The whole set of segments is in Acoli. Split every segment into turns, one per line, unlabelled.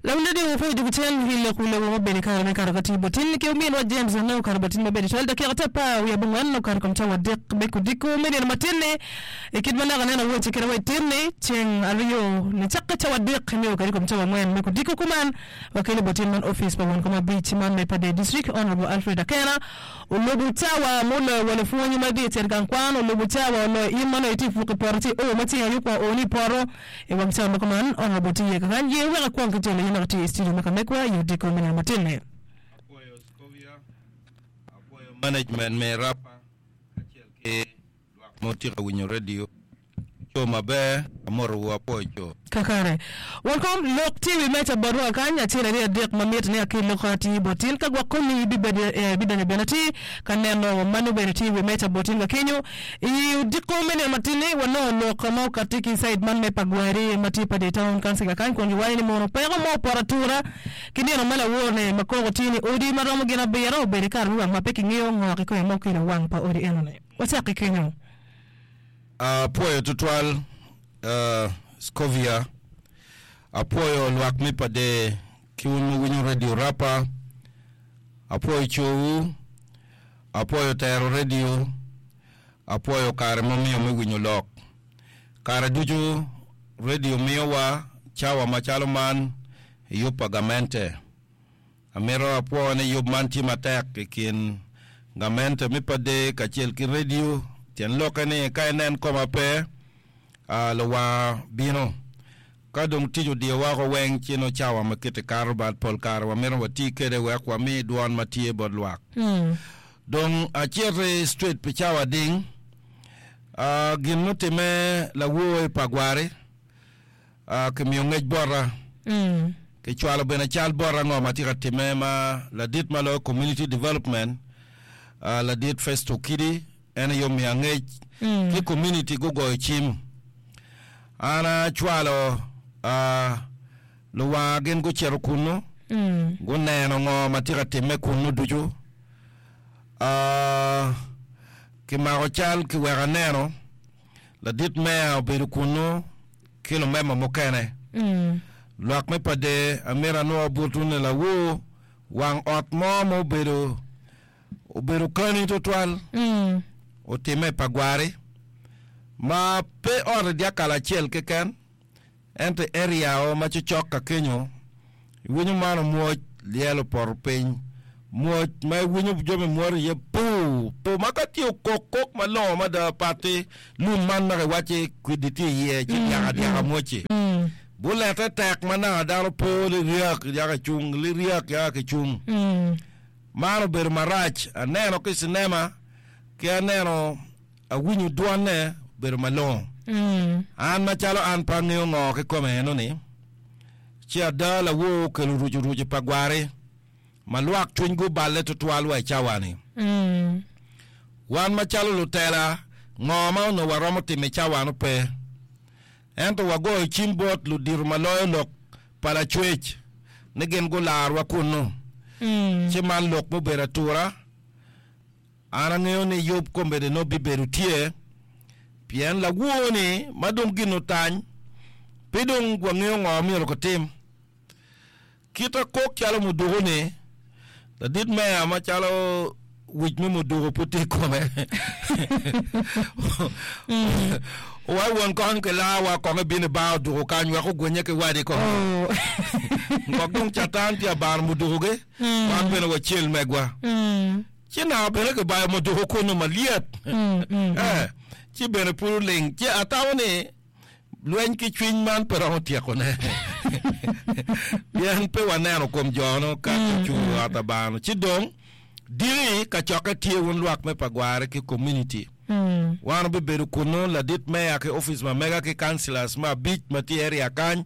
Lawil radio wapwoyo dwogo cen i lok wi lobo ma obedo i kare me kato ka tye botin ki ominwa James anongo kato botin maber tutwal dakika te apar wiye abongwen okato kom cawa adek me kudiko me nino matin-ni i kit ma naka aneno awoce kede wa i tin-ni ceng aryo nicakke cawa adek nio kede kom cawa angwen me kudiko kuman wakelo botin man opic pa won kom abic man me Pader District Honourable Alfred Akena olubo cawa muloyo wa lupwonye ma gitye cito gang kwan olubo cawa oloyo in ma nongo itye puk i poto ci o ma ceng aye okwongo o ni i poto I wang cawa ma kuman, Honourable tye iye kakany, ye wek akwong ki jolo in dok itye i studio me ka megwa i odiko me nino matin-ni.
Apwoyo Scovia, apwoyo management me Rapa kacel ki lwak ma wutye ka winyo radio. Co maber, amotowu apwoyo co.
Kakare. Welkom, lok tye i wi meja botwa kakany, acel aryo adek ma mitte ni akel lok atir bot tin. Ka gwok komi ibibedo, ibidonyo bene atir ka neno ma nongo bene tye i wi meja bot tin ka kenyo. I odiko me nino matin-ni, wanongo lok ma okatti ki i cait man me Pagwari ma tye i Pader Town Council kakany kun giwaco ni mono peko mo opoto atura ki nino ma lawor-ni ma koko tye ni odi ma romo gin abiro obedo i kare me wang ma pe kingeyo ngo kikome ma okelo wang pa odi eno-ni. Wacak ki kenyo.
Apwoyo tutwal Scovia, apwoyo lwak me Pader ki wun ma wuwinyo Radio Rapa, apwoyo cowu. Apwoyo tero redio. Apwoyo kare ma omiyo me winyo lok. Kare ducu redio miyowa cawa macalo man i yub pa gamente. Amito apwo ni yub man tye matek i kin gamente me Pader kacel ki redio. Tyen lokke ni ka inen koma pe, luwanga bino. Ka dong tic odiyo woko weng ci nongo cawa ma kite kato but pol kare wamito wati kede wek wami dwon ma tye bot lwak. Dong acito i street pi cawa ding, gin mutime lawor i Pagwari kimiyo ngec bota, kicwalo bene cal bota ngo ma tye ka time ma ladit ma loyo community development ladit Festo Okidi En aye omiya ngec ki komuniti gugoyo cim. An acwalo luwanga gin gucito kunnu, guneno ngo ma tye ka timme kunnu ducu. Kimako cal kiweko aneno, ladit meya obedo kunnu ki lumema mukene. Lwak me Pader amito anwo butune lawor wang ot mo ma obedo Obedo kani twatwal, otimme i Pagwari, ma pe ot i dyakal acel keken, ento i area-o ma cocok ka kenyo, iwinyo man omwoc lyel opoto piny, mwoc ma iwinyo jami mwoto iye puu puu ma ka tye okok kok malongo mada pat-ti lum man ma kiwacci kwidi tye iye ci dyaka dyaka mwoc-ci. Bulette tek ma naka dano po liryak yaka icung liryak yaka kicung. Man obedo marac. Aneno ki i cinema ki aneno awinyo dwonne obedo malongo. An macalo an pe angeyo ngo kikome enoni, ci ada lawor okelo rucurucu pa gwari ma lwak cwinygi oballe tutwal wa i cawa-ni. Wan macalo lutela, ngo ma onongo waromo timo i cawa-nu pe. Ento wagoyo cim bot ludito ma loyo lok pa Lacwec ni gin gularwa kunnu. Ci man lok mubedo atura. An angeyo ni yub kombeddi nongo bibedo tye, pien lawor-ni ma dong gin otany, pe dong wangeyo ngo myero kitim. Kit akok calo muduku-ni, ladit meya macalo wic me muduku pud tye i kome. Owaco won kong kilarwa kong ebino i bar oduku kany wek ogwenye ki wadi kong. Gwok dong catan tye abano mudukugi, wan bene wacel megwa. Ci naka bene kibayo muduku kunu malyet. Eh, ci bene pud oling. Ci atamo ni Lweny ki cwiny man pe romo tyekone, pien pe waneno kom jo-nu ka gicung i ot Abanga-nu. Ci dong, diki kacokke tye wun lwak me Pagware ki komuniti. Wan wabibedo kunnu, ladit meya ki opic ma mega ki councillors me abic ma tye i area kany,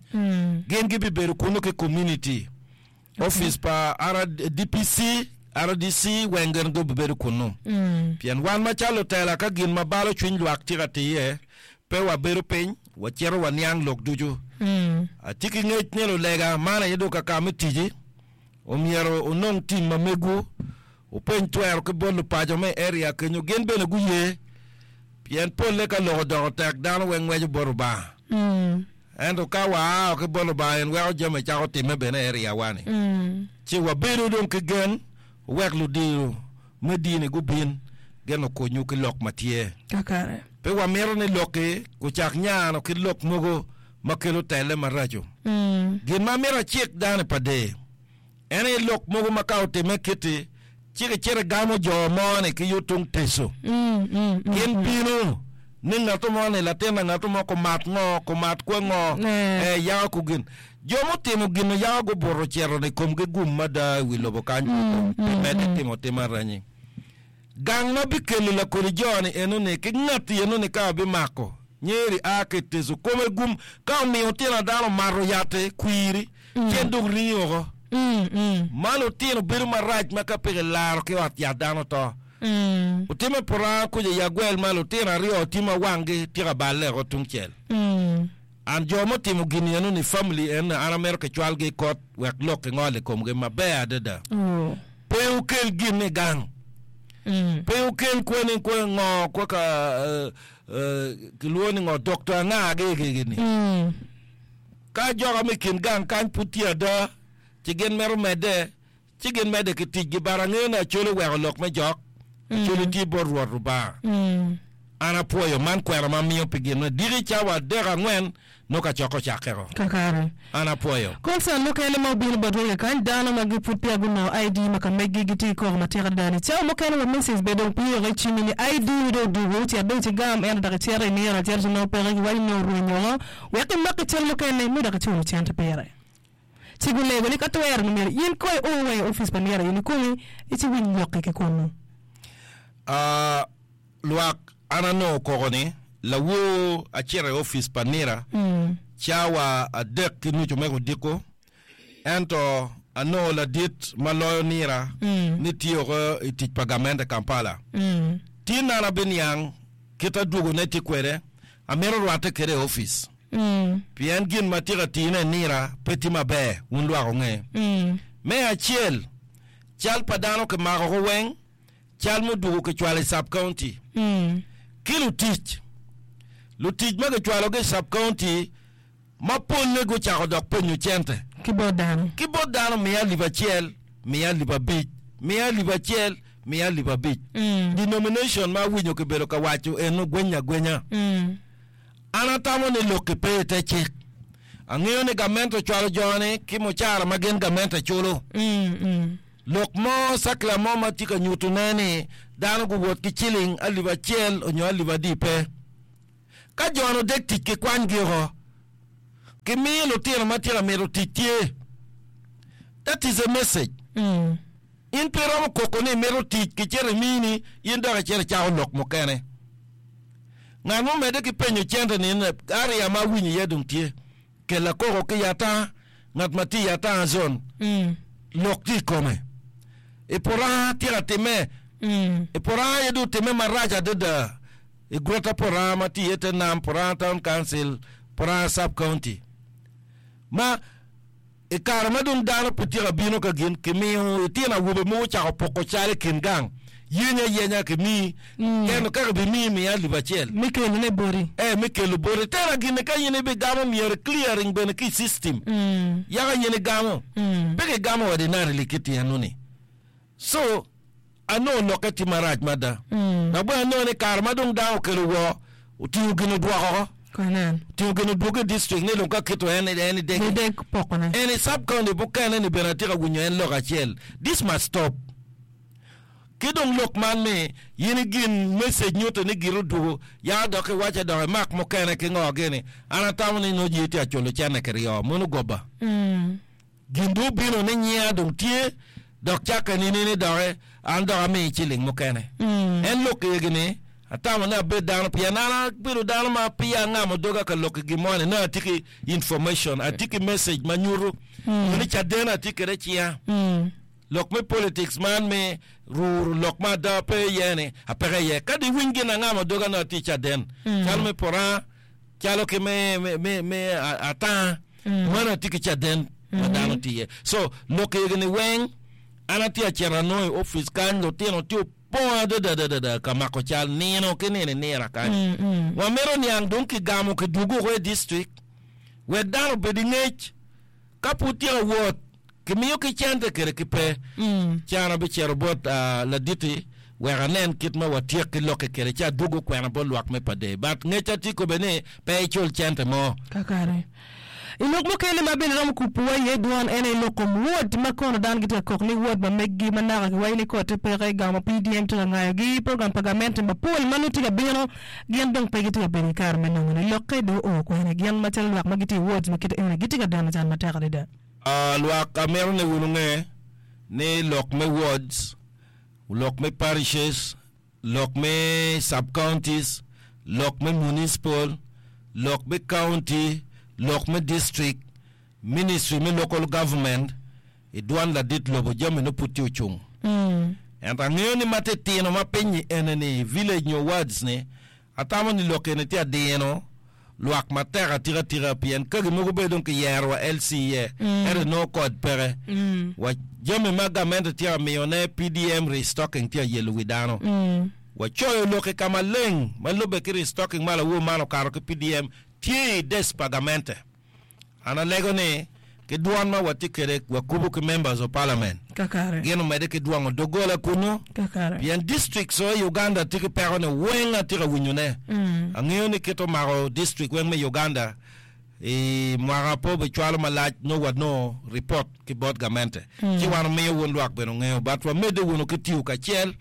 gin gibibedo kunnu ki komuniti. Opic pa DPC, RDC weng gin gubibedo kunnu. Pien wan macalo lutela ka gin ma balo cwiny lwak tye ka tiye, pe wabedo piny, wacito waniang lok ducu. Atye ki ngec ni lulega, man aye dong kaka me tici, omyero wunong tim ma megwu, wupeny twero ki bot lupaco me i area kenyo, gin bene guye. Pien polle ka lok odoko tek, dano weng ngweco bot Rubanga. Ento ka waa ki bot Lubanga en weko jami cako timme bene i area wa ni. Ci wabedo dong ki gen wek ludiro me dini gubin gin okonywu ki lok ma tye.
Kakare.
Pe wamito ni lok-ki gucak nyano ki lok mogo ma kelo telle maraco. Gin ma amito acik dano i Pader en aye lok mogo ma ka otimme kit-ti, ci kicito igamo jo mo-ni ki yo tung Teco. Gin bino ni ngat mo ni latin a ngat mo kumat ngo, kumat kwe ngo, ee, yako ku gin. Jo mutimo gin-nu yako gubuto ocito-ni komgi gum mada i wi lobo kany pi medde timo tim aranyi. Gang ma bikelo lakodi jo-ni eno-ni ki ngatti eno-ni ka abimako, nyeri a ki i Teco, kome gum ka omiyo otino a dano omato yat-ti kwiri, ci en dong ringi woko. Ma lutino bedo marac ma ka pe kilaro ki ot yat dano to. Otimme puranga kuca i agwel ma lutino aryo tye ma wanggi tye ka balle woko tungcel. An jo mutimo gin eno-ni family eno-ni an amito kicwalgi i kot wek lok kingol i komgi maber adada. Pe wukel gin i gang. Pe wukel kweni kwe ngo kwe ka kilwongo ni ngo dokto anga gigi-ni. Ka joka me kin gang kany pud tye ada, ci gin mito medde, ci gin medde ki ticgi. But angeyo ni Acholi oweko lok me jok. Acholi tye bot Rwot Rubanga. An apwoyo man kwena ma amiyo pi gin me diki cawa adek angwen nongo kacokke ocakke-ko.
Kakare.
An apwoyo.
Concern mukene ma obino botwa i kakany, dano ma gi pud peya gunongo ID ma ka meggi gitye ki koko matek adada ni cawa mukene wa message bene dong pii woko i cimmi ni ID ni dong odugu cet dong icigam ento dok icito iniro acita ci nongo peke giwaco ni nongo orwenyo woko wek imaki cal mukene nongo dok iculo cente pire. Ci gulego ni ka twere ni myero in ko i o wa i opic pa nira in ikomi ci winy lokki ki kunnu.
Ah, lwak an anongo koko ni lawor acito i opic pa nira cawa 3:30 me odiko ento anongo ladit ma loyo nira ni tye oko i tic pa gamente Kampala. Tin an abiniang kit adwogone tye kwede, amito rwatte kwede i opic. Pien gin ma tye ka tine i nira pe tye maber, wun lwak wunge. Me acel, cal pa dano kimako ko weng, cal mudwogo kicwalo i sub-county. Ki lutic, lutic ma kicwalogi i sub-county ma polle gucako dok penyo cente.
Ki bot dano.
Ki bot dano miya alip acel, miya alip abic, miya alip acel, miya alip abic. Denomination ma awinyo kibedo ka waco eno gwenya agwenya. An atamo ni lok-ki pe i te cik. Angeyo ni gamente ocwalo jo-ni ki mucara ma gin gamente culo. Lok mo, cakila mo ma tye ka nyutone ni dano guwot ki ciling 1000 onyo alip adi pe. Ka jo-ni odek tic ki kwanygi oko, kimiyo lutino ma tye ka mito tic tye. That is a message. In pe iromo koko ni imito tic, kicito imini, in dok icito icako lok mukene. Ngat mo omedde ki penyo cente ni, Area ma awinyo iye dong tye. Kella koko ki i ata, ngat ma tye i ata zone, lok tye i kome. I Puranga tye ka timme. I Puranga aye dong otimme marac adada. I Greater Puranga ma tye iye te nam, Puranga Town Council, Puranga Sub County. Ma I kare ma dong dano pe tye ka bino ka gin, kimiyo litino awobe mogo ocako poko cal i kin gang, Yeny ayenya kimiyi, ento ka kibimiyi miya alip acel.
Me kelone boti.
Ee, me kelo boti. Tera gin-ni ka in ibigamo myero i clearing bene ki i system. Yaka in igamo. Pe kigamo ordinarily ki tyen-nu-ni. So, anongo lokke tye marac mada. Dok bene anongo ni kare ma dong dano okelo woo, otingo gin odwoko oko. Otingo gin odwogo i district ni dong ka kito en en idegi.
Ideg pokone.
En i sub county mukene ni bene atye ka winyo en lok acel. This must stop. Ki dong lok man ni in i gin message nyuto ni gire odwogo ya dok iwace dok imak mukene ki ngo gini. An atamo ni nongo jii tye ka culo cene kiryo. Mono goba. Gin dong obino ni nyinga dong tye, dok cakke nini ni doki an dok amiyi ciling mukene. En lok egi ni, Atamo ni abed dano pien an abedo dano ma peya angamo doga ka lok i gin mo ni nongo atye ki information, atye ki message ma nyuto nyo ni caden atye kwede i cinga. Lok me politics man me ruro lok ma ada pe iye ni apeke iye. Kadi iwiny gin angamo doga nongo atye ki caden calo me Puranga, calo ki me, me, me, me Atanga. Mano atye ki caden ma dano tye iye. So, lok egi-ni weng, an atye acito anongo i opic kany, lutino tye opong adada adada ka mako cal nino ki nino inira kany. Wamito niang dong kigamo kidwogo woko i district. Wek dano obed i ngec. Ka pud tye ka wot, kimiyo ki cente kede ki pe. Ci an abicito bot laditi wek anen kit ma watyek ki lokke kwede ci adwogo kwena bot lwak me Pader. But ngecca tye kobbe ni pe icul cente mo.
Kakare. I lok mukene ma bene romo kubowa iye dwon en aye lok kom wod ma kono dano gitye ka kok ni wod ma meggi ma naka kiwaco ni kotte peke, gamo PDM tye ka ngayogi, program pa gamente mapol ma nongo tye ka bino gin dong pe gitye ka bedo ki kare me nongone. Lokke dong oo kwene? Gin macalo lwak ma gitye i wards ma kite eni gitye ka deno can matek adada.
Lwak amito ni wun wunge ni lok me wards, lok me parishes, lok me sub-counties, lok me municipal, lok me county, lok me district, ministry me local government, i dwan ladit lobo jami nongo pud tye ocung. Ento angeyo ni matitino ma piny-nyi ene-ni i village nyo wards ni, Atamo ni lok eni tye adino lwak matek atika tika pien kagi mogo bene dong kiyero wa LC iye ento inongo kod peke wa jami ma gamente tye ka miyo ne PDM restocking tye ka yelo wi dano. Wacoyo lok i ka maleng ma lube ki restocking ma lawor man okato ki PDM tye i desk pa gamente. An alego ni ki dwon ma watye kwede wakubo ki members of parliament
Kakare.
gin omedde ki dwongo doggola kunnu
Kakare.
pien districts o i Uganda tye ki peko ni weng atye ka winyo ne. Angeyo ni kit omako district weng me Uganda i mwaka pe obicwalo malac nongo wanongo report ki bot gamente ci wan omiyo wun lwak bene ongeyo but wamedde wunu ki tiyo kacel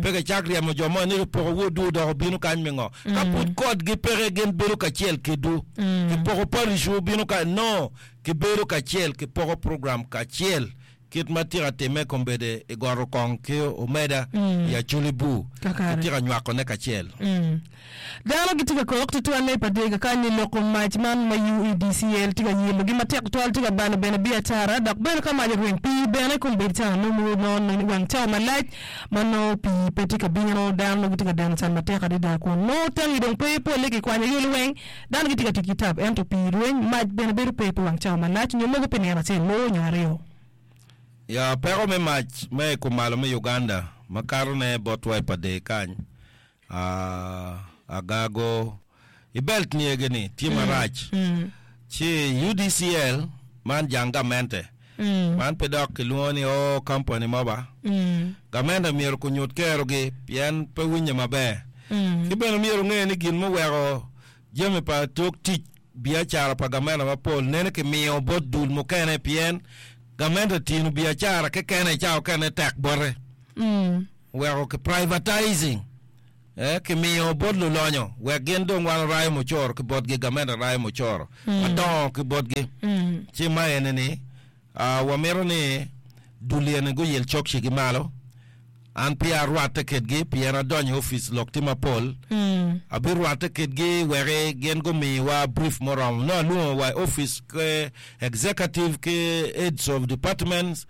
pe kicak ryemo jo mo ni kipoko wodwu dok obino kany me ngo ka pud kodgi peke gin bedo kacel kedwu kipoko parish wu bino kany no kibedo kacel kipoko program kacel kit ma tye ka timme kombeddi i goto kong ki omeda i Acholi bur kitye ka nywako ne kacel.
Dano gitye ka kok tutwalle i Padega kany i lok kom mac man ma UEDCL tye ka yelogi matek tutwal tye ka balo bene biacara dok bene ka mac orweny pii bene kombeddi cawa nongo nongo wang cawa malac ma nongo pii pe tye ka bino dano nongo gitye ka deno can matek adada kun nongo tangi dong pe polle kikwanyogi liweng dano gitye ka tic ki tap ento pii rweny mac bene bedo pe pi wang cawa malac nyo mogo pi nino acel mo nyo aryo.
Ya peko me mac me i kumalo me Uganda makato ne botwa i Padee kany Agago i belt niyege ni tye marac ci UDCL man jang gamente man pe dok kilwongo ni oo company mo ba gamente myero kunyut kerogi pien pe winye maber ki bene myero onge ni gin muweko jami pa tok tic biacara pa gamente mapol nene kimiyo bot dul mukene pien gamente tino biacara kekene ca okene tek bote. Weko ki privatizing eh, kimiyo bot lulonyo wek gin dong wan orayo mucoro ki botgi, gamente rayo mucoro madongo ki botgi. Ci ma eni ni ah, wamito ni dul eni guyil cokcigi malo. An peya arwatte kedgi pien adonyo i opic lok tye mapol. Abirwatte kedgi weki gin gumiwa brief muromo. Nongo alwongo wa i opic ki executive ki heads of departments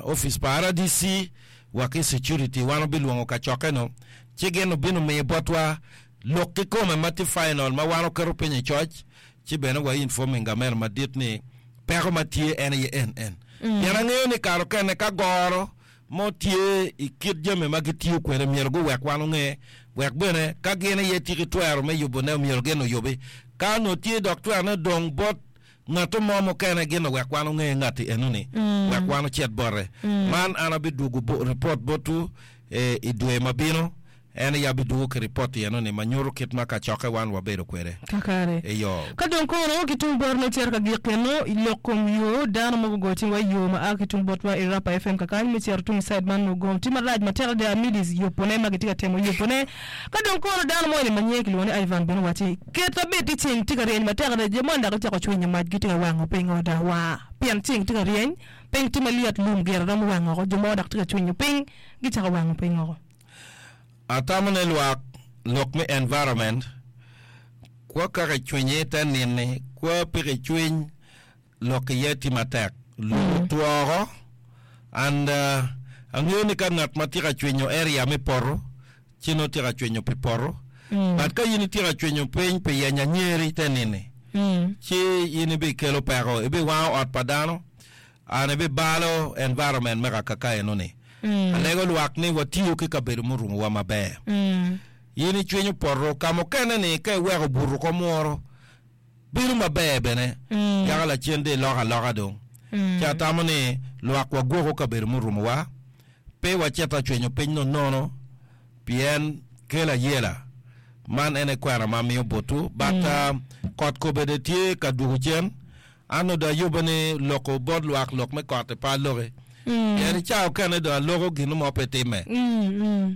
Opic pa RDC wa ki security wan obilwongo kacokke-nu ci gin obino miyo botwa lok kikome ma tye final ma wan oketo piny i coc ci bene wa informing gamente madit ni peko ma tye en aye en en. Pien angeyo ni kare okene ka goro mo tye i kit jami ma gitiyo kwede myero guwek wan onge wek bene ka gin aye tye ki twero me yubone myero gin oyubi ka onongo tye dok twerone odong bot Ngatto mo mukene gin owek wan onge ngatti enoni, wek wan ocit bote. Man an abidwogo ripot botwu i dwe ma bino. En aye abidwogo ki ripot enoni ma nyuto kit ma kacokke wan wabedo kwede.
Kakare.
Eyo.
Ka dong kono ki tung bot me cito ka gik eno i lok kom yo, dano mogo ogo cingwa i yo ma a ki tung botwa i Rapa FM kakany me cito tung i cide man nongo gom tye marac matek adada midis yubone ma gitye ka temo yubone. Ka dong kono dano moni ma nyinge kilwongo ni Ivan bene owacci, Ket abed ti ceng tye ka ryeny matek adada, jo moni dok gicako cwinyo mac gitye ka wango piny oda wa pien ceng tye ka ryeny, piny tye malyet lum gire romo wang oko, jo mogo dok tye ka cwinyo piny gicako wango piny oko.
Atamo ni lwak lok me environment kwo kaka icwinye ite nini kwo piki cwiny lok iye tye matek lum otwo oko and angeyo ni ka ngat ma tye ka cwinyo area me poto ci nongo tye ka cwinyo pi poto but ka in itye ka cwinyo piny pi yenyo anyeri te nini ci in ibikelo peko ibiwango ot pa dano and ibibalo environment me kaka eno ni. Alego lwak ni watiyo ki kabedo murumowa maber. In icwinyo poto ka mukene ni ka iweko buto ko muro. Bedo maber bene yaka lacen dong iloko aloka dong. Ci atamo ni lwak wagwoko kabedo murumowa, pe wacit acwenyo piny nonono pien kelo ayela. Man en aye kwena ma amiyo botwu. But kot kobedde tye ka dwogo cen. An onongo dong ayubbe ni loko bot lwak lok me kot-ti pe aloki. Pien i cawa okene dong aloko gin mo pe timme.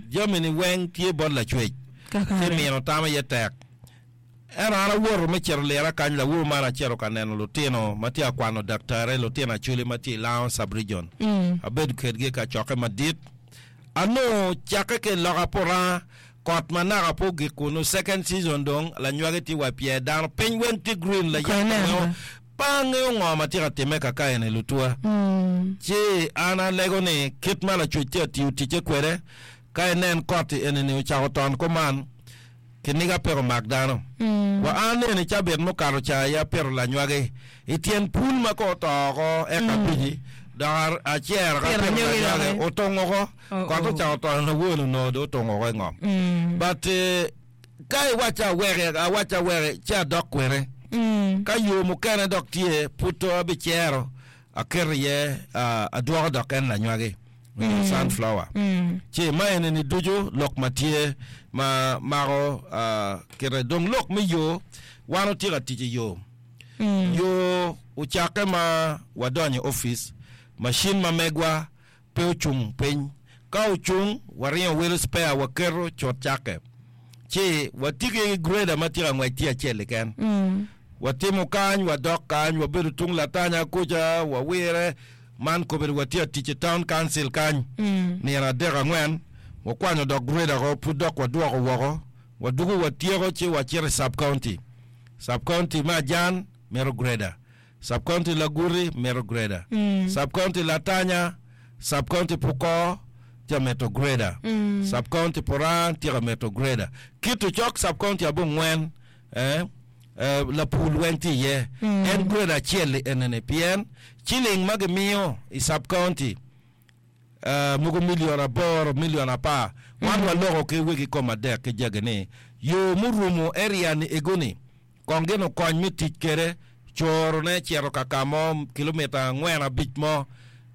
Jami-ni weng tye bot Lacwec, ci mino tam aye tek. Ento an awoto me cito lira kany lawor man acito ka neno lutino ma tye ka kwano daktare, lutino Acholi ma tye i Lango Sub-Region. Abedo kedgi i kacokke madit. Anongo cakke ki i loka Puranga, kot ma naka pe ogik kunu, second season dong lanywagi tye wa i pyer dano, piny weng tye green, layaka weng pe angeyo ngo ma tye ka timme kaka eni lutuwa. Ci an alego ni kit ma Lacwec tye ka tiyo ticce kwede, ka inen kot-ti eni-ni ocako ton kuman, Kiniga peko mak dano. Wa an nene cabit mukato ca aye apito lanywagi i tyen pul ma ko oto oko eka abici dok acero ka apito lanywagi otung oko kot ocako tono lawol onongo dong otung oko i ngom. But ka iwacca aweki awacca aweki ci adok kwene. Ka yo mukene dok tye pud to abicero aketo iye adwoko dok en lanywagi. Onyo sunflower. Ci ma eni-ni ducu lok ma tye ma mako kite. Dong lok me yo, wan watye ka tic i yo. Yo ocakke ma wadonyo i opic, macin ma megwa pe ocung piny. Ka ocung, waringo welo spare waketo cut cakke. Ci watye ki grader ma tye ka ngwec tye acel keken. Watimo kany, wadok kany, wabedo tung Latanya kuca, wawire. Man kobedo watye atic i Town Council kany nino adek angwen, wakwanyo dok grader ko pud dok wadwoko woko, wadwogo watyeko ci wacito i Sub County. Sub County me Ajan mito grader, Sub County Laguti mito grader, Sub County Latanya, Sub County Pukor tye ka mito grader, Sub County Puranga tye ka mito grader. Kit ocok Sub County abongwen eh, Lapur weng tye iye. En grade acel-li enini pien ciling ma gimiyo i sub county mogo million aboro, million apar. Wan waloko ki wegi kom adek ki jagi ni yo murumo area ni ego ni kong gin okony me tic kede coro ne cito ka ka mo kilomita angwen abic mo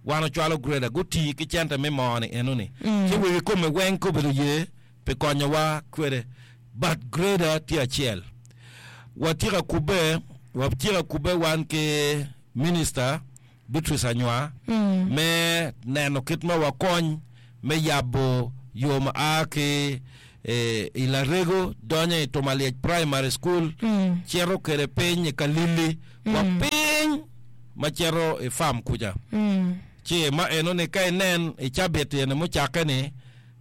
wan ocwalo grader gutii ki cente me moo ni eno ni ci wegi kome weng ka obedo ye pi konyowa kwede but grader tye acel. Watye ka kubbe, watye ka kubbe wan ki Minister Beatrice Anywar me neno kit ma wakony me yabo yo ma a ki i Larego donyo i Tumalyec Primary School cito kwede piny i Kalili wa piny ma cito i farm kuca. Ci ma eno ni ka inen i cabit eni mucakke ni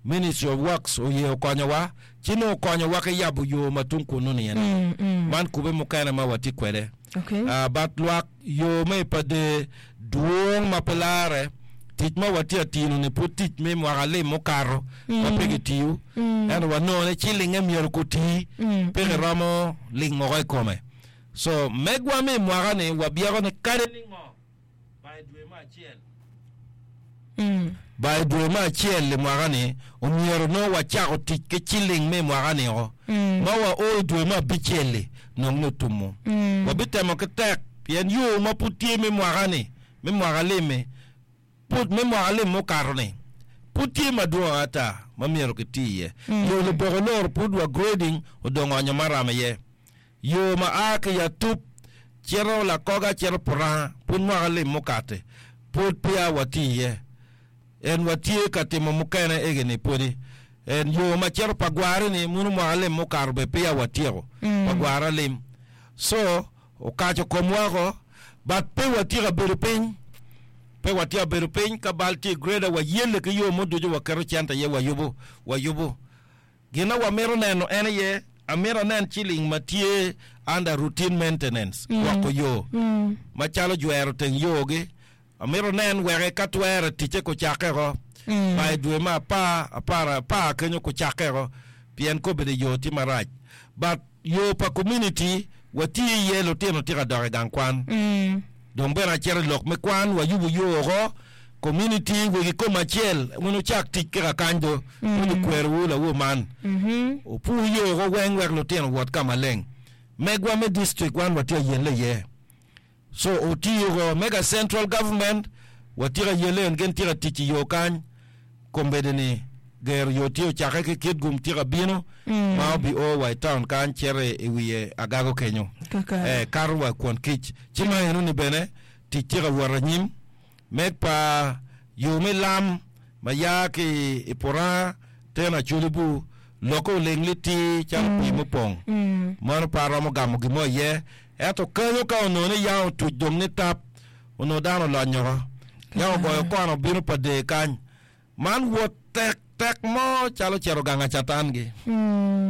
Ministry of Works oye okonyowa, ci nongo okonyowa ki yabo yo ma tung kunnu-ni ene. Man kube mukene ma watye kwede.
Okay.
Ah, but lwak yo me i Pader dwong ma pe larre. Tic ma watye atino-ni pud tic me mwaka lim mukato ma pe kitiyo. Ento wanongo ni cilinge myero kuti, pe kiromo ling woko i kome. So, megwa me i mwaka-ni wabyeko ni kadi ningo Ba i dwe me acel. Ba i dwe me acel i mwaka-ni, omyero nongo wacako tic ki ciling me i mwaka-ni o. Ma wa o i dwe me abicel-li, nongo ni otumo. Wabitemo ki tek, pien yo ma pud tye me mwaka-ni, me mwaka lim-mi, pud me mwaka lim mukato-ni, pud tye madwong ata ma myero kiti iye. Yo luboko loro pud wa grading odong onyo maram iye. Yo ma a ki i Atup cito Lakoga cito Puranga pud mwaka lim mukati pud peya watye iye. En watye ka timo mukene egi-ni pwodi. En yo ma cito Pagwari-ni muno mwaka lim mukato bene peya watyeko Pagwara lim. So, okaco komwa oko but pe watye ka bedo piny. Pe watye ka bedo piny ka bal tye i grader wayelle ki yo mo ducu waketo cente iye wayubo, wayubo. Gin ma wamito neno en aye, amito anen ciling ma tye under routine maintenance, gwoko yo, macalo jwero teng yo-gi. Amito nen weke ka twere ticce kucakke oko by dwe me apar, apar, apar kenyo kucakke oko pien kobedo yo tye marac. But yo pa community watiyo iye lutino tye ka dok i gang kwan. Dong bene acito i lok me kwan, wayubo yo oko, community wegi kom acel wun wucak tic ki kakany do, pud okwerowu lawor man. Wupur yo oko weng wek lutino owot ka maleng. Megwa me district wan watye ayelle iye. So otiyo mega central government watye ka yelle en gin tye ka tic i yo kany kombeddi ni gero yo tye ocakke ki Kitgum tye ka bino ma obi o wa i town kany cito i wiye Agago kenyo
Kakare.
eh, kato wa kwon kic ci ma eno ni bene tic tye ka wot anyim Meg pa yo me lam ma ya ki i Puranga teno Acholi bu lokke oling litir calo pii mupong. Meno pe aromo gamo gin mo iye. Ento kenyo ka onongo ni yam otuc dong ni tap, onongo dano olony oko. Yam ogoyo kona obino pa der kany. Man wot tek tek mo calo cito gang acatan gi.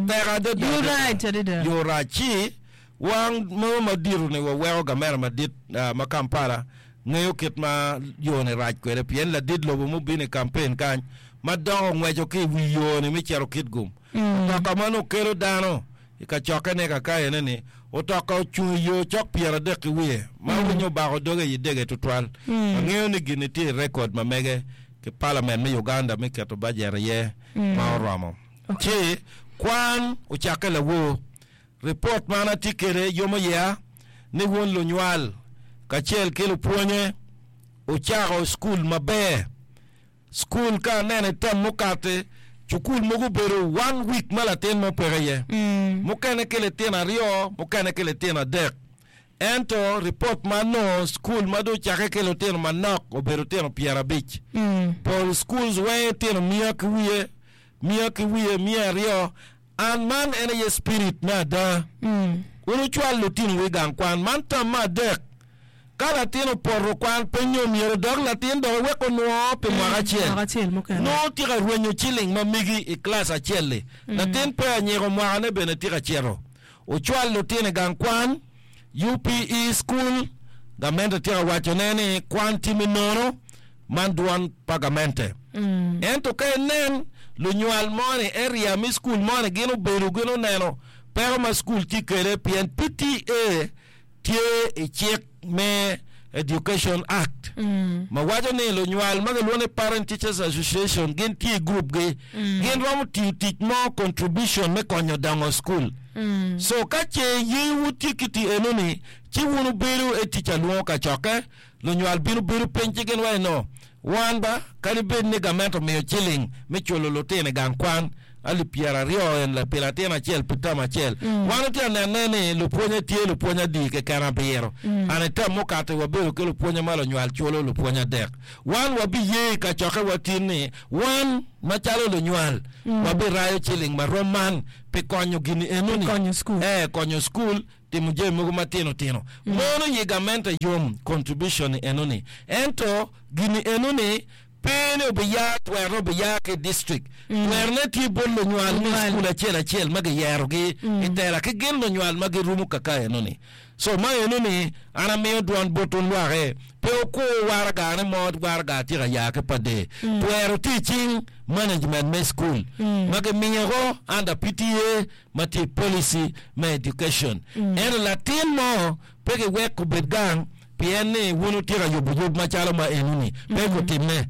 Tek adada.
Yo rac adada.
Yo rac. Ci wang mo madito ni waweko gamera madit ma Kampala ngeyo kit ma yo ni rac kwede pien ladit lobo mubino i kampen kany ma dok ongweco ki i wi yo ni me cito Kitgum. Otoka ma nongo kelo dano I kacokkene kakayene ni, otoka ocung i yo cok 30 ki wiye, ma winyo obako doge i dege tutwal. Angeyo ni gin-ni tye i rekod ma mege ki Palament me Uganda me keto bajet iye ma oromo. Ci kwan ocakke lawor. Ripot ma an atye kwede yomo iya ni wun lunywal kacel ki lupwonye wucako cukul maber. Cukul ka aneno i term mukati, cukul mogo obedo one week ma latin mo peke iye, mukene ki litino aryo, mukene ki litino adek. Ento ripot ma anongo cukul ma dong ocakke ki lutino manok obedo tino 50. Pol schools weng tino miya ki wiye, miya ki wiye, 200. An man en aye spirit me ada. Wun wucwal lutinowu i gang kwan. Man tam me adek. Ka latin opoto kwan pe nyo myero dok latin dok iwek onwo pi mwaka acel.
Mwaka acel mukene.
Nongo tye ka rwenyo ciling ma megi i kilac acel-li. Latin pe anyiko mwakane bene tye ka cito. Wucwal lutino i gang kwan, UPE school, gamente tye ka wacone ni kwan tye me nono, man dwon pa gamente. Ento ka inen lunywal moni, area me school moni gin obedo gin oneno peko ma school tye kwede pien PTA tye i cik me Education Act ma waco ni lunywal ma gilwongo ni Parent Teachers Association gin tye i gurup gi gin romo tiyo tic mo contribution me konyo dongo school. So ka ce yewu tye ki ti eno ni ci wun wubedo e tic alwongo kacokke lunywal bino bedo piny ci gin waco ni no wan ba kadi bed ni gamente omiyo ciling me culo lutino i gang kwan alip 20 en pi latin acel pi term acel. Wan watye ka nene ni lupwonye tye lupwonye adi keken abiro. An i term mukato wabedo ki lupwonye ma lunywal culo lupwonye adek. Wan wabiye i kacokke wa tin ni wan macalo lunywal wabirayo ciling ma rom man pi konyo gini enoni.
Konyo school.
Eh, konyo school timo jami mogo matino tino. Mono yi gamente yom contribution ni enoni. Ento gini enoni Pe ni obiya twerone obiya ki i distrik. Twerone tye bot lunywal me cukul acel acel ma giyerogi i tela ki gin lunywal ma girumo kaka enoni. So ma enoni an amiyo dwon bot wun lwake, pe wukur waragane mo waraga tye ka ya ki pa der. Twero tye i cing management me cukul ma gimiyoko under PTA ma tye i policy me education. Ento latin mo pe giwek obed gang Pien ni wun wutye ka yubo yub macalo ma enoni, pe gutimme.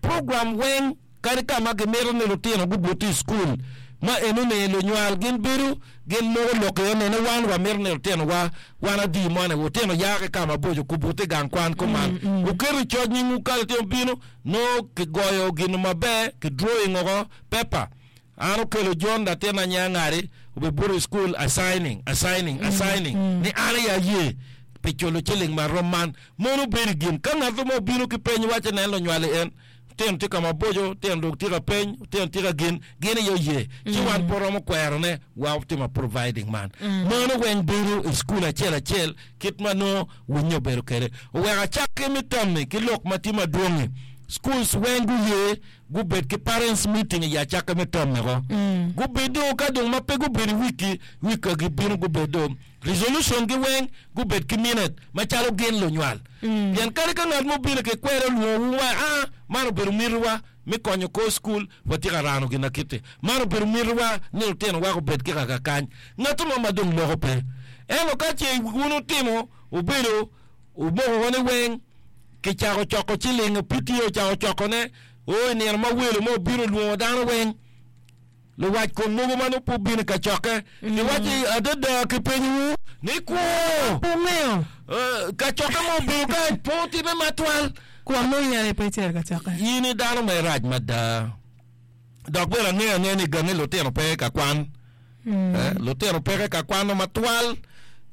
Program weng, kadi ka ma gimito ni lutino gubuti i cukul ma enoni, lunywal gin bedo gin moko lok iye ni, ni wan wamito ni lutinowa wan adi moni, wutino ya ki ka maboco kubuti i gang kwan kuman. Wuketo i coc nyingwu ka litino bino, nongo kigoyo gin maber, ki drawing oko, paper. An okelo John latin anya ngadi obibuto i cukul assigning, assigning, assigning ni an aye aye pi culo ciling ma rom man. Mono obedo i gin ka ngat mo obino ki peny waco nen lunywali en tino tye ka maboco, tino dong tye ka peny, tino tye ka gin, gin aye oye. Ci wan pe oromo kwero ne wa otimo providing man. Mono weng bedo i cukul acel acel kit ma nongo winyo obedo kwede. Oweko acakki me tammi ki lok ma tye madwongi. Schools weng guye gubed ki parents meeting i acakke me term mego. Gubedo ka dong ma pe gubedo i wiki, week ka gibino gubedo resolution gi weng gubed ki minute macalo gin lunywal. Pien kadi ka ngat mo obino ki kwede olwongo wu wa a man obedo miti wa me konyo kor school watye ka rano gin akiti. Man obedo miti wa ni lutino wa gubed ki kaka kany. Ngat mo ma dong loko pe. Ento ka ce wun wutimo wubedo wumoko ko ni weng Kicako coko ciling, PTA ocako cokone, oo i nino ma welo mo obino olwongo dano weng. Luwac kom mogo ma nongo pe obino i kacokke giwacci, Adada kipenyowu ni kwo.
Pe wungeyo.
Kacokke mo obedo kany pe otimme matwal.
Kwon mo in aye pe icito i kacokke.
In i dano ma irac mada. Dok bene angeyo angeya ni gangi lutino pe ka kwan. Lutino peke ka kwano matwal.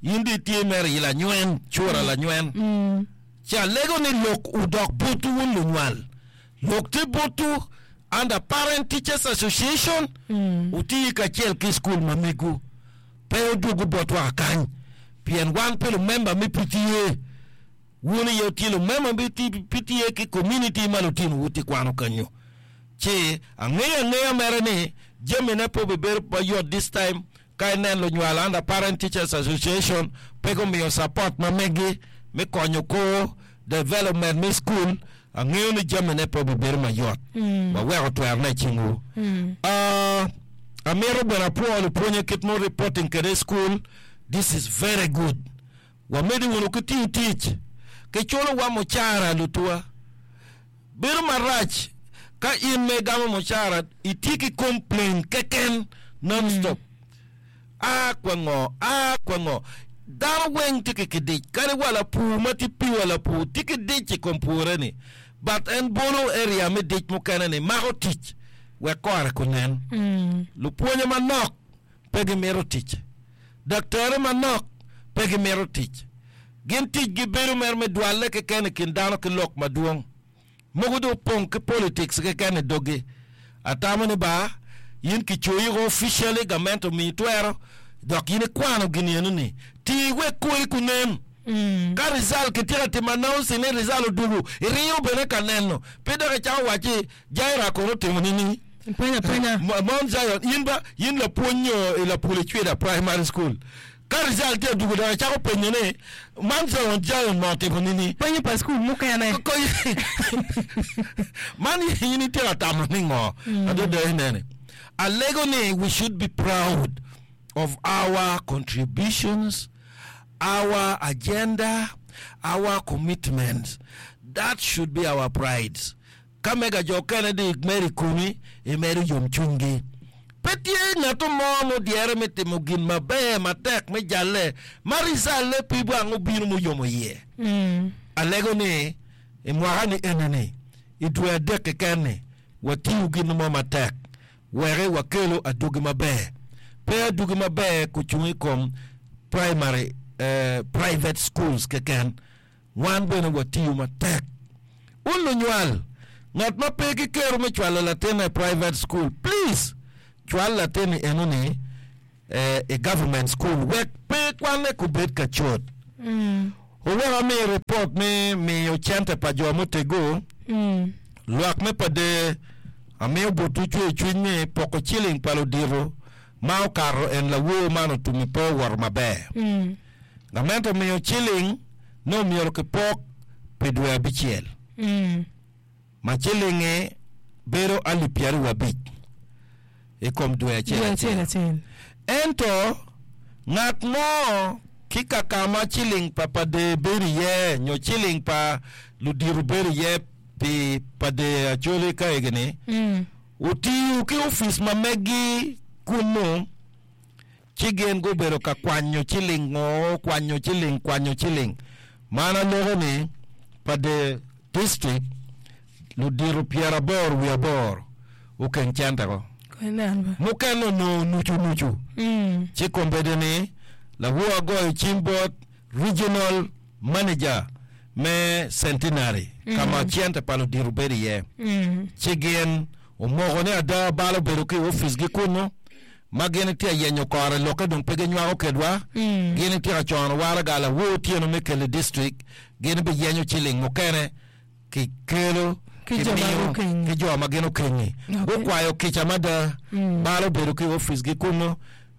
In dong itye mere i lanywen, cura lanywen. Ci alego ni lok odok botwu wun lunywal. Lok tye botwu under Parent Teachers Association, wuti kacel ki cukul ma megwu. Pe wudwogu botwa kakany, pien wan pe lumemba me PTA. Wun aye wutye lumemba me PTA ki komuniti ma lutinowu tye kwano kenyo. Ci angeyo angeya mere ni jamine pe obibedo mayot this time ka inen lunywal under Parent Teachers Association pe gumiyo support ma megi me konyo kor development me school, angeyo ni jamine pe obibedo mayot. Waweko twerone i cingwu. Ah, amito bene apwo lupwonye kit ma reporting kwede i school, this is very good. Wamedde wunu ki tiyo tic, kiculowa mucara lutuwa. Bedo marac ka in ma igamo mucara itye ki complain keken non stop. A kwa ngo, a kwa ngo. Dano weng tye ki kidic, kadi wa lapur ma tye piwa lapur tye ki dic i kom pure ni but en bolo area me dic mukene ni mako tic wek kore kunen. Lupwonye manok pe gimito tic. Daktarre manok pe gimito tic. Gin ticgi bedo mere me dwalle keken i kin dano ki lok madwong. Mogo dong opong ki politics keken i doggi. Atamo ni ba, in kicoyi officially gamente omiyi twero dok in ikwano gin eno-ni. Ti wek kori kunen. Ka result kitye ka timo announcing ni result odwogo, iringo bene ka neno. Pe dok icako wacci Jaira kono otimo nining?
Ipenyo apenya.
Mount Zion, in ba, in lapwony nyo i lapul i Cwida Primary School. Ka result tye odwogo dok icako penyo ni, Mount Zion, Zion mo otimo nini?
Penyo pa school mukene.
Man in itye ka tamo ni ngo? Adada inene. Alego ni we should be proud of our contributions, our agenda, our commitments. That should be our pride. Ka mega jo okene dong imedo i komi, imedo yomcwinygi. Pe tye ngat mo mudyere me timo gin maber matek me jalle ma ricalle pe wang obino muyomo iye. Alego ni i mwaka-ni eni-ni, i dwe adek keken-ni, watiyu gin mo matek wek wakelu adwogi maber. Pe adwogi maber kucung i kom primary, private schools keken. Wan bene watiyo matek. Wun lunywal, ngat ma pe ki kero me cwalo latinne i private school, please cwal latinni enoni i government school wek pe kwanne kubed ka cot. Oweko ami report me miyo cente pa jo muteggo, lwak me pader amiyo botwu cwer cwiny ni poko ciling pa ludito ma okato en lawor man otumi pe owoto maber. Gamente omiyo ciling ni omyero kipok pi dwe abicel, ma cilingi bedo alip 25 i kom dwe acel acel. Ento ngat mo ki ka ka ma ciling pa pader bedo iye nyo ciling pa ludito bedo iye pi pader Acholi ka egi-ni, otiyo ki opic ma megi kunnu. Ci gin gubedo ka kwanyo ciling ngo, kwanyo ciling, kwanyo ciling. Man aloko ni pa the district ludito 88 okeng cente ko. Mukene onongo nucu nucu. Ci kombeddi ni lawor agoyo cim bot regional manager me Centenary ka ma cente pa ludito bedo iye. Ci gin omoko ni ada bal obedo ki i opic gi kunu. ma gin itye ka yenyo kore lokke dong pe ginywako kedwa, gin itye ka cono waraga lawor otyeno me kelo i distrik, gin biyenyo ciling mukene ki kelo
Ki jo ma
kimiyo
gukengi.
ki jo ma gin okengi.
Okay.
Gukwayo kica mada, bal obedo ki i oficgi kunnu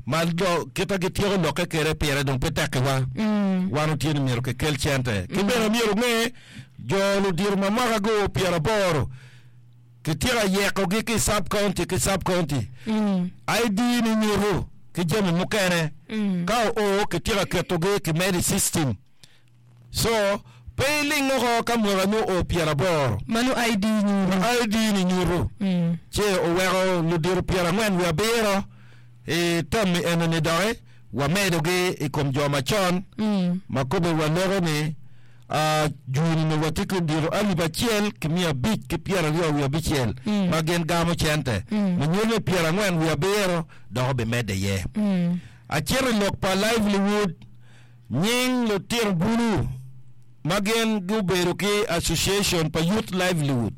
ma jo kita gityeko lokke kede pire dong pe tekkiwa. Wan otyeno myero kikel cente. Ki bene myero onge jo ludito ma mwaka guo 80 Kitye ka yekogi ki i sub-county ki sub-county. ID ni nyuto ki jami mukene. Ka oo kitye ka ketogi kimedo i system. So, Pe iling oko ka mwakani oo pyeraboro.
Mano ID nyuto.
Ma ID ni nyuto. Ci oweko ludito 47 i tammi eno-ni doki wamedogi i kom jo macon ma kobbe waloko ni jwini nongo watye ki ludito 1526 ma gin gamo cente. Munyol me 47 dok obimedde iye. Acito i lok pa Liveliwood. Nying lutino bulu ma gin gubedo ki Association pa Youth Livelihood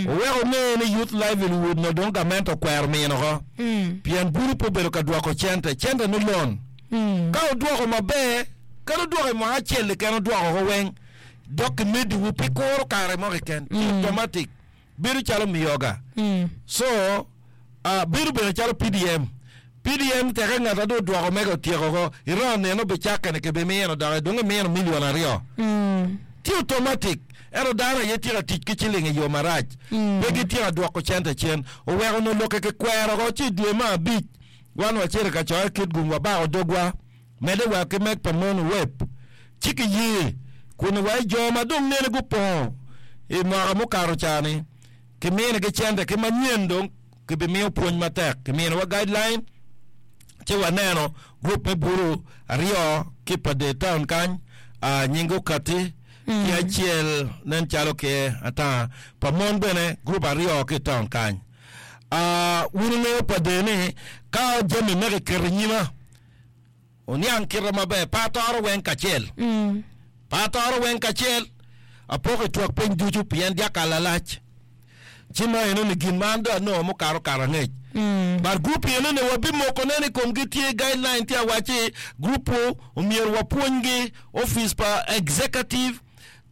oweko onge ni Youth Livelihood no dong gamente okwero mino oko pien bulu pe obedo ka dwoko cente, cente ni loan. Ka odwoko maber, kadi odwoko i mwaka acel keken odwoko oko weng dok kimediwu pi kuro kare mo keken ci automatic bedo calo miyoga. So bedo bene calo PDM. PDM teke ngat a dong odwoko mege otyeko oko, i round nino obicakke ni kibimino doki dong imino milion aryo. Tye automatic ento dano aye tye ka tic ki ciling i yo marac. Pe gitye ka dwoko cente cen. Oweko onongo lokke kikwero oko ci i dwe me abic wan wacito i kacokke Kitgum wabako dogwa medde wa ki meg pa mon web ci kiye kun wa i jo ma dong nene gupongo i mwaka mukato ca-ni kiminigi cente ki manyen dong kibimiyo pwony matek. Kiminiwa guideline ci waneno gurup me bulu aryo ki pa dye taun kany nyingi okatti ki acel nen calo ki ata pa mon bene gurup aryo ki i taun kany. Wun wungeyo pa dye ni ka jami me kiketo i nyima Oniang kite maber, pe atoro weng kacel. Pe atoro weng kacel, apoko i twak piny ducu pien dyakal lalac. Ci ma enoni gin ma an dong anongo mukato kare angec. But group enoni wabimoko ne ni komgi tye guideline tye awacci group wu omyero wapwonygi office pa executive,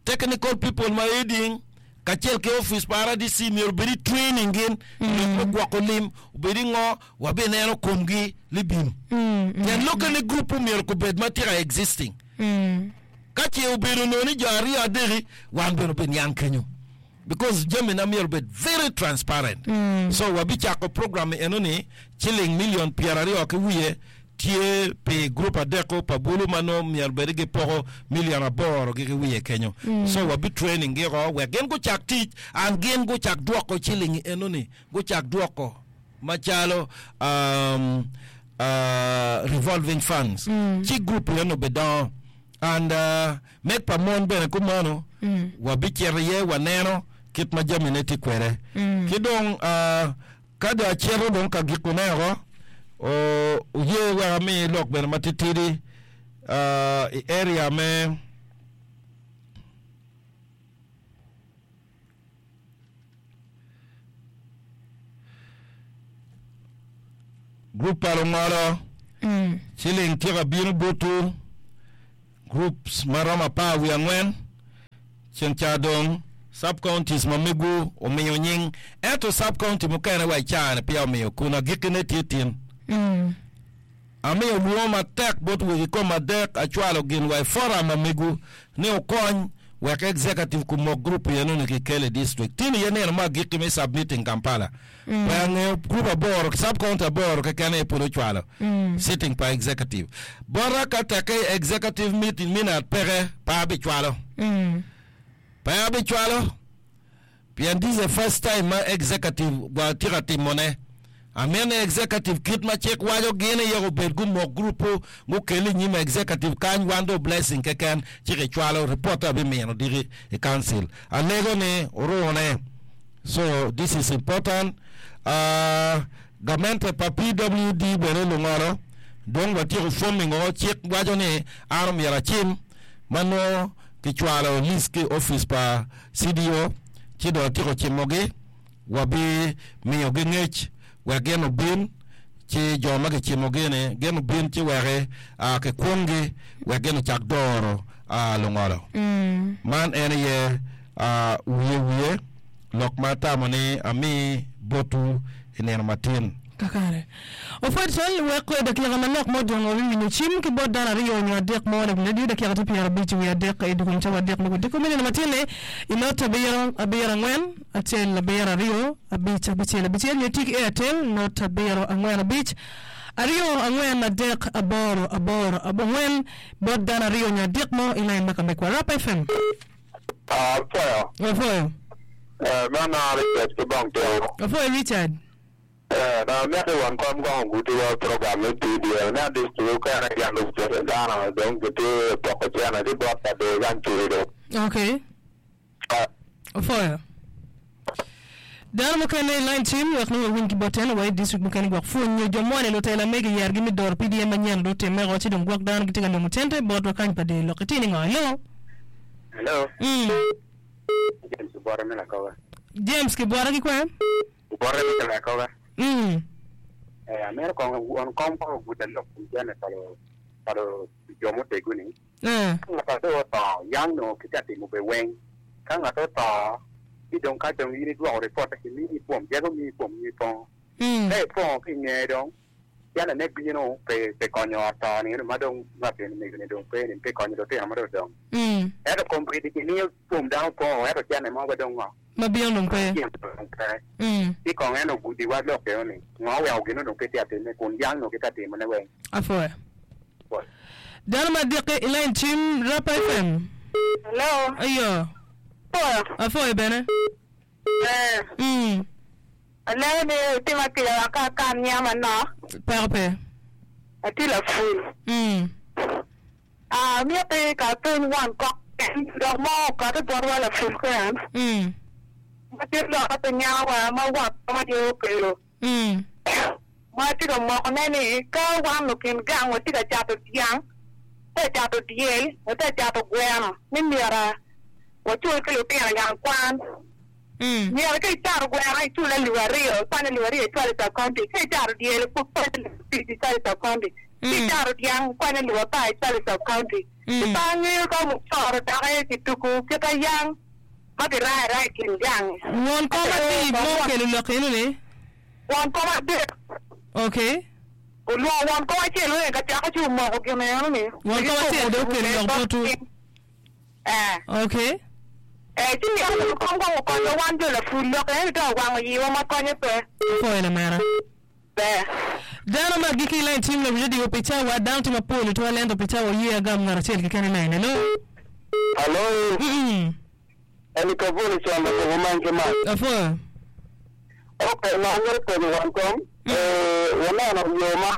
technical people ma heading kacel ki office pa RDC myero obed i training gin i lok me gwoko lim obed i ngo wabineno komgi libim. Pien lokke ni gurup omyero gubed ma tye ka existing. Ka ce obedo onongo ni jo aryo adeki, wan bene obiniang kenyo. Because jamina myero obed very transparent. So wabicako program eno ni ciling million 20 ki wiye tye pi gurup adeko pa bulu ma nongo myero bed ni gipoko million aboro gi ki wiye kenyo. So wabi training gi oko wek gin gucak tic and gin gucak dwoko ciling eno ni gucak dwoko. macalo revolving funds ci group eno bidongo and meg pa mon bene kumeno wabicito iye waneno kit ma jamine tye kwede ki dong ka dong acito dong ka gikone oko oye wek ami lok bene matitidi i area me Gurup pa lungolo ciling tye ka bino botwu, gurups ma romo 14, ceng ca dong sub counties ma megwu omiyo nying ento sub county mukene wa i caa-ni peya omiyo kun agikkine tye tin. Amiyo lwongo matek bot wegi kom adek acwalo gin wa i forum ma megu ni okony wek executive kumok group eno ni kikel i district. Tin iye nino me agikki me submitting Kampala. Pe angeyo group aboro, sub county aboro keken aye pud ocwalo sitting pa executive. Bota ka tekke i executive meeting minute peke pe abicwalo. Pe abicwalo. Pien this is the first time ma executive wa tye ka timo ne. Amito ni executive kit ma cik waco gin aye obed gumok group gukel i nyim executive kany wan dong blessing keken ci ki cwalo report abimino diki i council. Alego ni orune. So this is important. Uh, gamente pa PWD bene lungolo dong watyeko forming o cik waco ni an omyero acim ma nongo kicwalo list ki i opic pa CDO ci dong atyeko cimogi, wabimiyogi ngec wek gin obin, ci jo ma kicimogi-ni gin obin ci wek kikwonggi wek gin ocak doro lungolo. Man en aye wiye wiye lok ma atamo ni ami botwu i nino matin.
Kakare. Opwod cal wek dakika manok mo odong wabiwinyo cim ki bot dano aryo nyo adek mo leb radio dakika tye 53 i dukun cawa adek me kudiko me nino matinne i not abiro abiro angwen acel abiro aryo abic abicel abicel nyo iti ki Airtel not abiro angwen abic aryo angwen adek aboro aboro abongwen bot dano aryo nyo adek mo i lain ma ka mekwa Rap FM.
Apwoyo.
Apwoyo.
Man a Richard ki Bong Tiro.
Apwoyo Richard.
Dong amito i wang kom kong ogudi wa program me PDM ne district okene gin ocito dano dong gitye poko cene ki bot pader gang curi dong.
Okay. Opwoyo. Dano mukene i line cim wek nongo wawiny ki bot en wa i district mukene gwok pwonyo jo moni lutela mege yergi me doro PDM manyen do otimme oko ci dong gwok dano gitye ka nongo cente botwa kany pa der lok itye ni ngo? Hello.
Hello.
Mm.
James Obote me Lakoga.
James Kibwota ki kwe?
Obote me Lakoga.
Mm.
Eh, amito kong won kom kong oguda lok kom cene pa pa jo muteggu ni.
Eh.
Ka ngat dong oto, yang nongo kitye ka timo be weng. Ka ngat oto, ci dong ka dong in idwoko ripotte kimini pwom, jego miyi pwom in ipongo.
Mm.
Ka ipongo ki inge dong, cene ne bino pi pi konyo ot to ni ma dong ngat eni mego ni dong pe ni pi konyo lutino ma dong odong.
Mm.
Ento kombeddi kimiyo pwom dano pongo ento cene mo pe dong ngo.
Ma bino dong pe.
Cene dong pe.
Mm.
Ci kong en ogudiwa lok eno ni, ngo oweko gin onongo pe tye ka timme kun yang onongo kitye ka timone weng.
Apwoyo. Dano ma dikke i lain cim Rapa FM.
Hello.
Ayo.
Apwoyo.
Apwoyo bene.
Eh.
Mm.
Alego ni itima kica wek ka akan nya manok.
Peko pe.
Atye lapul.
Mm.
Ah, amiti ka apeny won kok en dok mo okati botwa lapul keken.
Mm.
Ma tye lokke pi nyawa ma won kom aye okelo.
Mm.
Ma atye ka mokone ni ka wan lukin gang watye ka cato dyang, watye ka cato dyel, watye ka cato gweno ni myero wacul ki lutino i gang kwan.
Mm.
Myero ka icato gweno icul alip aryo, ikwanyo alip aryo icwalo i sub-county. Ka icato dyel ikwanyo alip abic icwalo i sub-county. Ka
Mm.
icato dyang ikwanyo alip apar icwalo i sub-county. Ci
Mm.
pe angeyo ka mucoro doki kituku kit ayang ma kirayo araya i kin gang-ngi.
Won kom adi ma okelo lok eno-ni?
Won kom adek.
Okay.
Olwongo won kom acel weng ka cako ci omoko gin eno-ni.
Won kom acel dong okelo lok botwu.
Eh.
Okay.
Eh, ci myero won kom kong okonywa wan jo lapur lok eno-ni to awango yiwa ma konye pe.
Apwoyo lamera.
Ber.
Dano ma agikki i lain cim lawil radio pi cawa, dano tye mapol itwal ento pi cawa oye agam ngat acel keken i lain. Hello.
Hello.
Mm.
Eni Kavuli Cwalo Koko man ki mac.
Apwoyo.
Ok, ma amito penyo wan kom, eh, waneno yo ma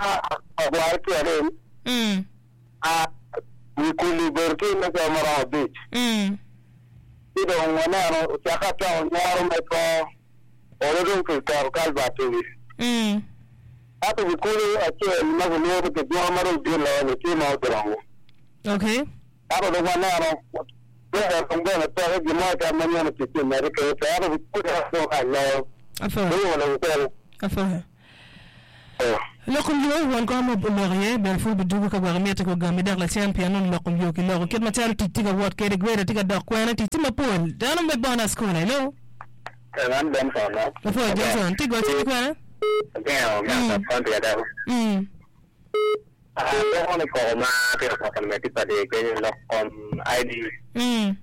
agwaro tye arem,
Mm.
ah, wi kulu obedo tye me cawa maromo abic.
Mm.
Ci dong waneno ocakke acako nyero me kor olo dong kiketo kalbat i wi.
Mm.
Ento wi kulu acel ma kilwongo ni Kidwongo ma dong dit loyo-ni tye ma odongo.
Okay.
Ento dong waneno, twere dong bene peke gin mo keken ma nyen otic ki i mede kene pe, ento wi kulu en dong rac loyo.
Apwoyo.
Dong olo kikelo.
Apwoyo. Lok kom yo won kom oloko iye bene pud bidwogo ka gwok imiti ko gami dok lacen pien nongo lok kom yo kiloko kit macalo tic tye ka wot kede grader tye ka dok kwene tic tye mapol dano me bona school hello.
Man Benson no.
Apwoyo Johnson tye goce ki kwene?
Agengo me
Mm.
sub county adako.
Mm.
Ah, loko ni koko ma tye ka koko ni me tye pa dye kenyo lok kom ID.
Mm.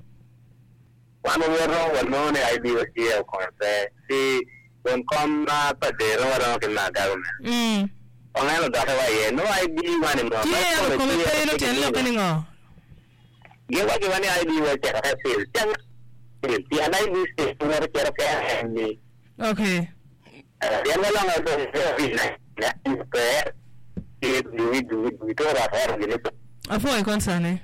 Wan wawoto wanongo ni ID wa tye okonyo pe ci won kom ma pa dero waromo ki ma government.
Mm.
Ongen odoke wa iye nongo ID wani mo ma
Tye
kome
kome
tye
pe nongo tyen lokke ni ngo?
Gin waco wa ni ID wa cito ka cil ci ango cil pien ID cil woto cito kene ni.
Okay.
Pien walongo dong pe ci dugi dugi dugi to ot gini.
Apwoyo concern ni.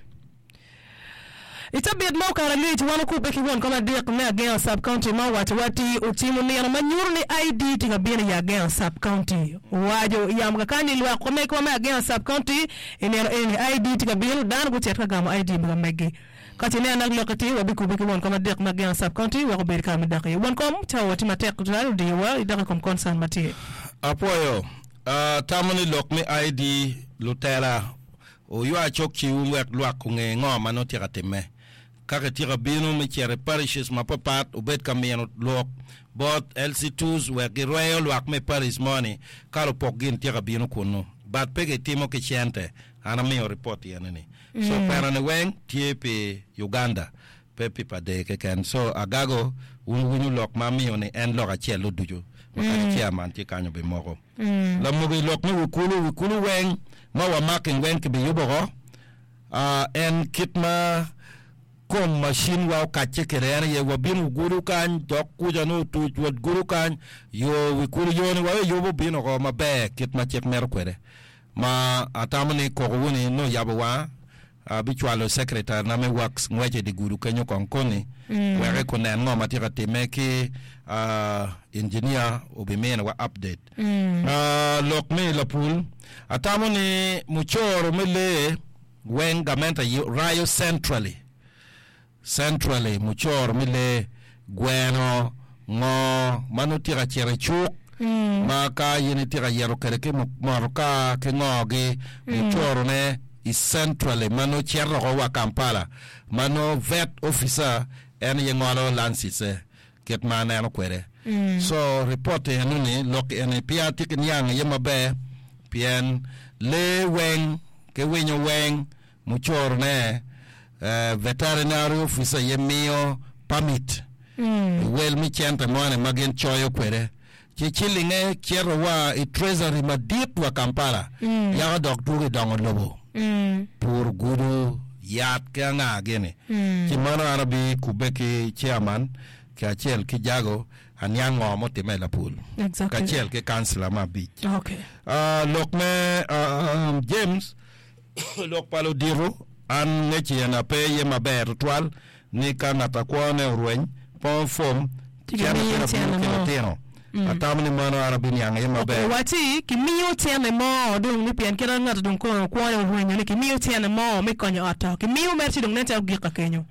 I cabit ma okato angec, wan okubbe ki won kom adek me Agengo Sub-County ma owaco wa ti ocimo nino ma nyuto ni ID tye ka bino i Agengo Sub-County. Owaco i yamo kakany ni lwak omegwa me Agengo Sub-County i nino eni ID tye ka bino, dano gucit ka gamo ID ma meggi. Ka ce inen dok lokke tye, wabikubbe ki won kom adek me Agengo Sub-County wek obed kare me dok iye. Won kom, cawa wa tye matek tutwal, odiyowa idok i kom concern ma tye.
Apwoyo. Atamo ni lok me ID lutela Wuywa cok ciwu wek lwak onge ngo ma nongo tye ka timme. Ka kityeko bino me cito i parishes mapapat, wubed ka mino lok bot LC2s wek girweyo lwak me parish moni ka lupok gin tye ka bino kunnu. But pe gitimo ki cente. An amiyo report i eni ni. So kwena ni weng tye pi Uganda pe pi Pader keken. So agago wun wuwinyo lok ma amiyo ni en lok acel-lu ducu ma kadi chairman tye kany obimoko. Lamogo i lok me wi kulu, wi kulu weng ma wamako i weng kibiyubo oko, en kit ma. kom macin wa okacce kwede en aye wabino gudo kany dok kuca nongo otuc wa gudo kany yo wi kulu yo ni wa weyubo obino oko maber kit ma cik mito kwede ma atamo ni koko wu ni nongo oyabo wanga abicwalo secretary na me works ngwece i dye gudo kenyo kong koni wek ekunen ngo ma tye ka timme ki engineer obiminiwa update. Lok me lapul atamo ni mucoro me lee weng gamente rayo centrally centrally mucoro me lee gweno ngo ma nongo tye ka cito i cuk ma ka in itye ka yito kwede ki motoka ki ngo gi mucoro ne i centrally ma nongo cito woko wa Kampala ma nongo vet officer en aye ngolo lancice kit ma aneno kwede. So report eno ni lok eni pe atye ki niang iye maber pien lee weng ki winyo weng mucoro ne veterinary officer aye miyo permit i wel me cente moni ma gin coyo kwede ci cilinge cito wa i treasury madit wa Kampala yako dok dwogo i dongo lobo pur gudo yat ki anga gini ci mano an abi kubbe ki chairman kacel ki jago aniang ngo mutime i lapul
Exactly.
kacel ki councilor me abic.
Okay.
Ah, lok me ah, James lok pa ludito an ngec ena pe iye maber tutwal ni ka ngat akwone orweny pongo fom
Ci
cente
kimiyo
bino bino
cente
ki
mo.
lutino atamo ni mano an abiniang iye maber.
Owacci kimiyo cente mo dong ni pien kit ma ngat dong kono kwone orwenyo ni kimiyo cente mo me konyo ot to kimiyo mere ci dong nen calo ogik ka kenyo.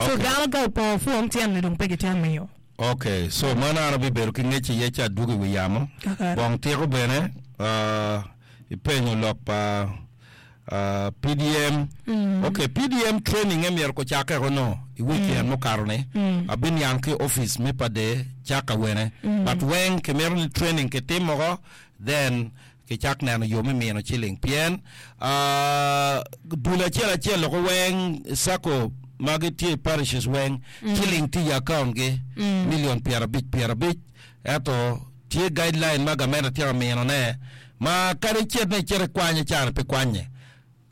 So
Okay.
dano ka opongo fom cente ni dong pe gitye miyo.
Ok, so mano an abibedo ki ngec iye ci adwogo i wi yamo.
Kakare.
Bong tiko bene ah, ipenyo lok pa ah, PDM. Ok, PDM training e myero kucakke kono i weekend mukato ni. Abiniang ki office me pade cak awene. But weng kimito ni training kitimo ko then kicak neno yo me mino ciling pien dul acel acel loko weng sacco ma gitye i parishes weng ciling tye i account gi million 50 50 ento tye guideline ma gamente tye ka mino ne ma kadi icit ni icit ikwanye cani pe kwanye.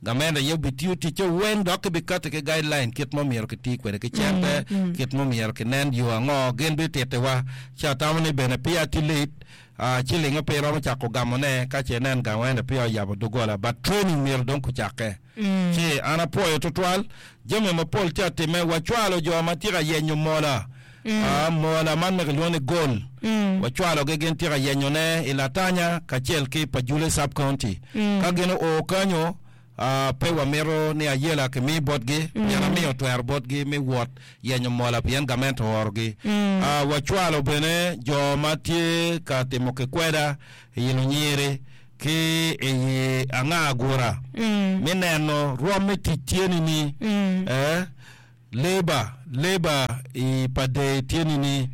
Gamente aye obitiyo ticce weng dok kibikati ki guideline kit ma omyero kiti kwede ki cente, kit ma omyero kinen yo ango gin bititiwa. Ci atamo ni bene peya tye late, cilinge pe iromo cako gamone ka ce inen gamente peya oyabo doggola but training myero dong kucakke. Ci an apwoyo tutwal jami mapol tye atime wacwalo jo ma tye ka yenyo mola Mola man ma kilwongo ni gol wacwalogi gin tye ka yenyone i Latanya kacel ki Pajule Sub-County. Ka gin oo kanyo, pe wamito ni ayela kimi botgi pien amiyo twero botgi me wot yenyo mola pien gamente oorogi. Wacwalo bene jo ma tye ka timo kikweda i Lunyiri ki i Anga-Agura me neno rwom me tic tye nini. Labour, Labour i pa dee tye nini?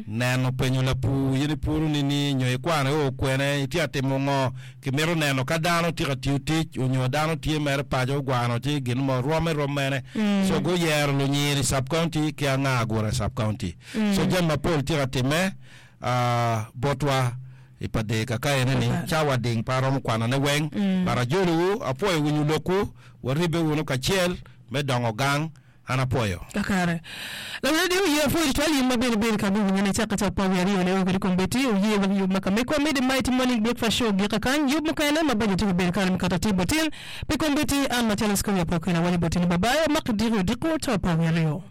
Neno penyo lapur in ipuro nini nyo ikwano i oo kwene itye ka timo ngo? Kimito neno ka dano tye ka tiyo tic onyo dano tye mere paco ogwano ci gin mo rwomme rom mene. So guyero lunyir i sub county ki anga agura i sub county. So jami mapol tye ka time botwa i pa dee kaka ene ni cawa ding pe aromo kwano ne weng but ajolo wu apwoyo winyo lokwu waribbe wunu kacel. Me dongo gang, an apwoyo.
Kakare. Lawil radio oye apwoyo tutwal in ma bene ibedo ka me winyo ne cakke ca apar wiye aryo ne o kwede kombeddi oye wek yub ma ka mekwa me The Mighty Morning Breakfast Show ogik kakany yub mukene ma bajo tye ka bedo kare me kato atir botin pi kombeddi an macalo Scoria Pokela awaco boti ni babayi amak idiki odiko ca apar wiye aryo.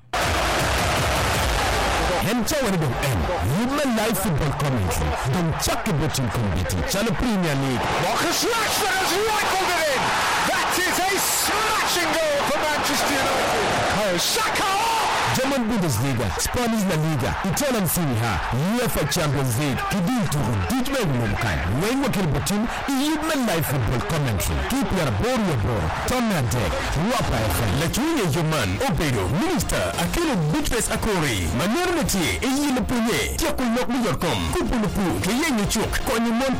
En cawa ni dong en yub me live football commentary dong cakke bot in kombeddi calo Premier League,
Marcus Rashford has rifled it in! That is a smashing goal for Manchester United! Bukayo Saka!
German Bundesliga, Spanish La Liga, Italian Serie A, UEFA Champions League ki dul tuko duc ma i wi lobo kany weng wakelo botin i yub me live football commentary ki i 88 tonne adek Rwapa FM. Lacwiny i yo man obedo Minista Akello Beatrice Akori ma nonone tye i yilo pwonye, tyeko lok me yotkom, kubo lupur ki yenyo cuk, konyo mon.